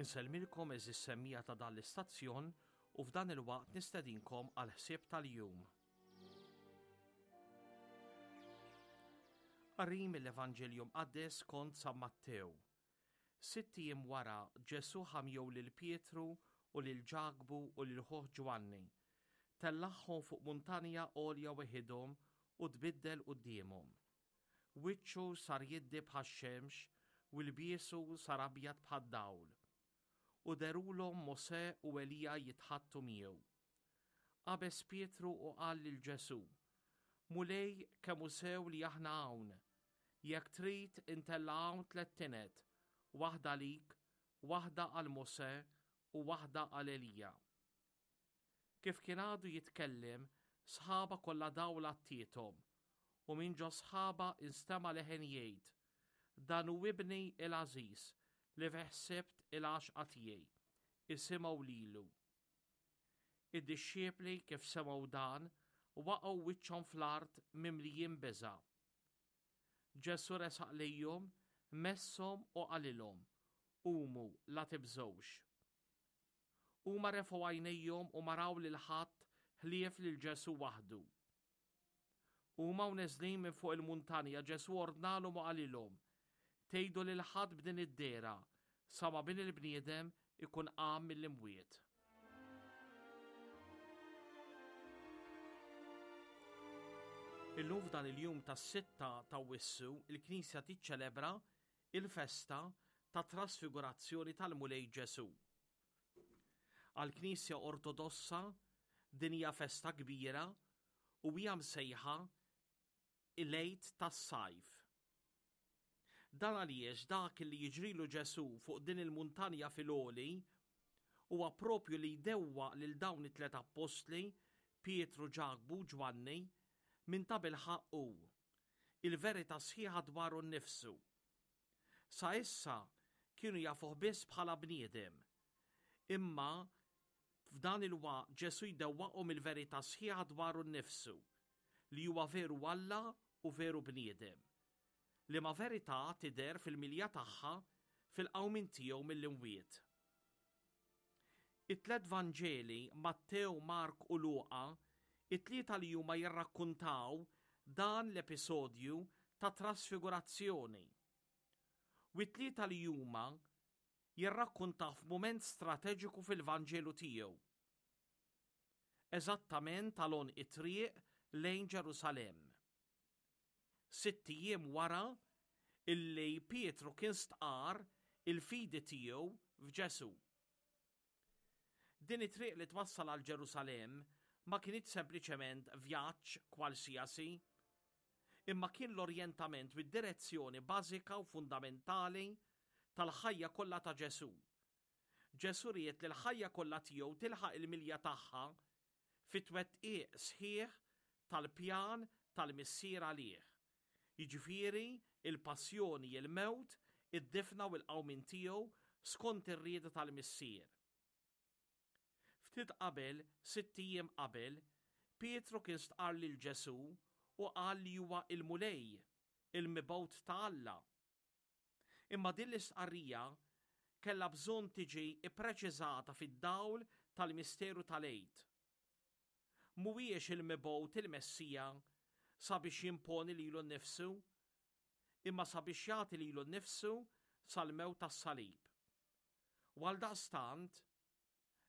Insellmilkom għeżież semmiegħa ta' dan l-istazzjon u f'dan il-waqt nistedinkom għall-ħsieb tal-jum. Qari mill-Evanġelju Mqaddes skont San Mattew. Sitt ijiem wara Ġesù ħa miegħu lil Pietru u lil Ġakbu u lil ħuh Ġwanni. Tellagħhom fuq muntanja għolja weħidhom u tbiddel quddiemhom. Wiċċu sar jiddi bħax-xemx u lbiesu sar abjad bħad-dawl. U dherulhom Mosè u Elija jitħaddtu miegħu. Qabeż Pietru u qal lil Ġesù, Mulej, kemm hu sew li aħna hawn! Jekk trid, intella' hawn tlett tined, waħda għalik, waħda għal Mosè u waħda għal Elija. Kif kien għadu jitkellem, sħaba kollha dawl għattiethom, u minn ġo sħaba instema' leħen jgħid, Dan hu Ibni il-għażiż, li fih sibt il-għaxqa tiegħi. Isimgħu lilu. Id-dixxipli kif semgħu dan, waqgħu wiċċhom fl-art mimlijin biża'. Ġesù resaq lejhom, messhom u qalilhom, Qumu, la tibżgħux. Huma refgħu għajnejhom u ma raw lil ħadd ħlief lil Ġesù waħdu. Huma u neżlin minn fuq il-muntanja Ġesù ordnalhom u qalilhom, Tgħidu lil ħadd b'din id-dehra sa ma Bin il-bniedem ikun qam mill-imwiet. Illum f'dan il-jum tas-sitta ta' Wissu il-Knisja tiċċelebra il-festa tat-Trasfigurazzjoni tal-Mulej Ġesù. Għall-Knisja Ortodossa din hija festa kbira u hija msejħa il-Għid tas-Sajf. Dan għaliex dak li jiġrilu Ġesù fuq din il-muntanja fil-għoli huwa propju li jdewwaq lil dawn it-tliet appostli, Pietru, Ġakbu u Ġwanni, min tabilħaqq hu. il-verità sħiħa dwaru nnifsu. Sa issa kienu jafuh biss bħala bniedem. Imma f'dan il-waqt Ġesù jdewwaqhom il-verità sħiħa dwaru nnifsu, li huwa veru Alla u veru bniedem. Liema verità tidher fil-milja tagħha fil-qawmien tiegħu mill-imwiet. It-tlett Vanġeli, Mattew, Mark u Luqa, it-tlieta li huma jirrakkuntaw dan l-episodju ta' trasfigurazzjoni. U t-tlieta li huma jirrakkuntaw f'mument strateġiku fil-Vanġelu tiegħu. Eżattament għal għonq it-triq lejn Ġerusalemm. Sitt ijiem wara illi Pietru kien stqarr il-fidi tiegħu f'Ġesù. Din it-triq li twassal għal Ġerusalemm ma kinitx sempliċement vjaġġ kwalsiasi, imma kien l-orjentament u d-direzzjoni bażika u fundamentali tal-ħajja kollha ta' Ġesù. Ġesù ried li l-ħajja kollha tiegħu tilħaq il-milja tagħha fit-twettiq sħiħ tal-pjan tal-Missier għalih, jiġifieri l-passjoni, il-mewt, id-difna u l-qawmien tiegħu skont ir-rieda tal-Missier. Ftit qabel, sitt ijiem qabel, Pietru kien stqarr lil Ġesù u qal li huwa l-Mulej, il-Mibgħut ta' Alla. Imma din l-istqarrija kellha bżonn tiġi ppreċiżata fid-dawl tal-misteru tal-Għid. Mhuwiex il-Mibgħut il-Messija sabiex jimponi lilu nnifsu, imma sabiex jagħti lilu nnifsu sal-mewt tas-salib. U għaldaqstant,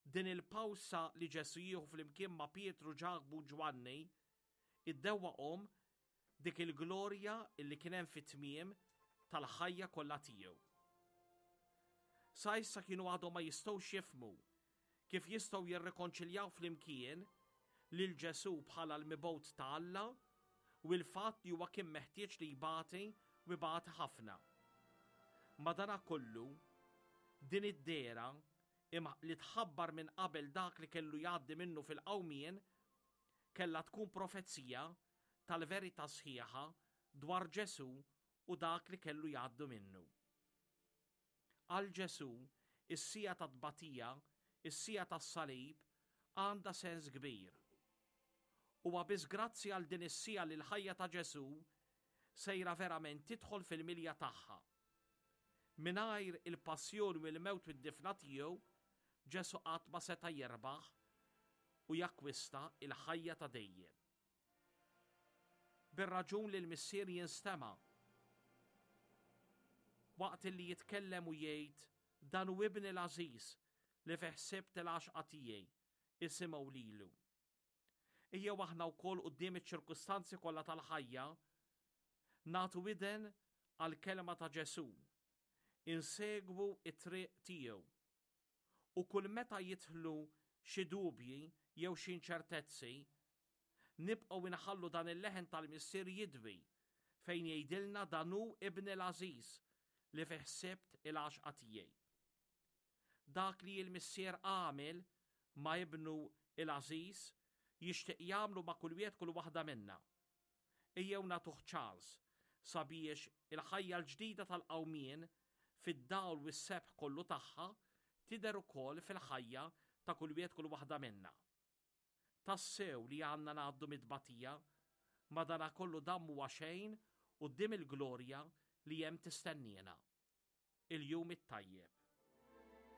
Din il-pawsa li Ġesù jieħu flimkien ma' Pietru, Ġakbu u Ġwanni iddewwaqhom dik il-glorja li kien hemm fit-tmiem tal-ħajja kollha tiegħu. Sa issa kienu għadhom ma jistgħux jifhmu kif jistgħu jirrikonċiljaw flimkien lil Ġesù bħala l-mibgħut ta' Alla u l-fatt li huwa kien meħtieġ li jbati u jbati ħafna. Madanakollu, din id-dehra imma li tħabbar minn qabel dak li kellu jgħaddi minnu fil-qawmien, kellha tkun profezija tal-verità sħiħa dwar Ġesù u dak li kellu jgħaddu minnu. Għal Ġesù, is-siegħa tat-tbatija, is-siegħa tas-salib, għandha sens kbir. Huwa biss grazzi għal din is-siegħa li l-ħajja ta' Ġesù sejra verament tidħol fil-milja tagħha. Mingħajr il-passjoni u l-mewt u d-difna tiegħu, Ġesù qatt ma seta' jerbaħ u jakkwista l-ħajja ta' dejjem. Bir-raġun li l-Missier jinstema' waqt li jitkellem u jgħid dan hu ibni l-għażiż li fih sibt il-għaxqa tiegħi, isimgħu lilu. Ejjew aħna wkoll quddiem iċ-ċirkustanzi kollha tal-ħajja nagħtu widen għall-kelma ta' Ġesù, insegwu t-triq tiegħu. U kull meta jidħlu xi dubji jew xi inċertezzi, nibqgħu inħallu dan il-leħen tal-Missier jidwi fejn jgħidilna dan hu ibni l-għażiż li fih sibt il-għaxqa tiegħi. Dak li l-Missier għamel ma' Ibnu l-għażiż, jixtieq jagħmlu ma' kull wieħed kull waħda minna. Ejjew nagħtuh ċans sabiex il-ħajja l-ġdida tal-qawmien fid-dawl u s-sebħ kollu tagħha tidher ukoll fil-ħajja ta' kull wieħed kull waħda minna. Tassew li għandna ngħaddu mit-tbatija, madanakollu dan m'huwa xejn quddiem il-glorja li hemm tistenniena. Il-jum it-tajjeb.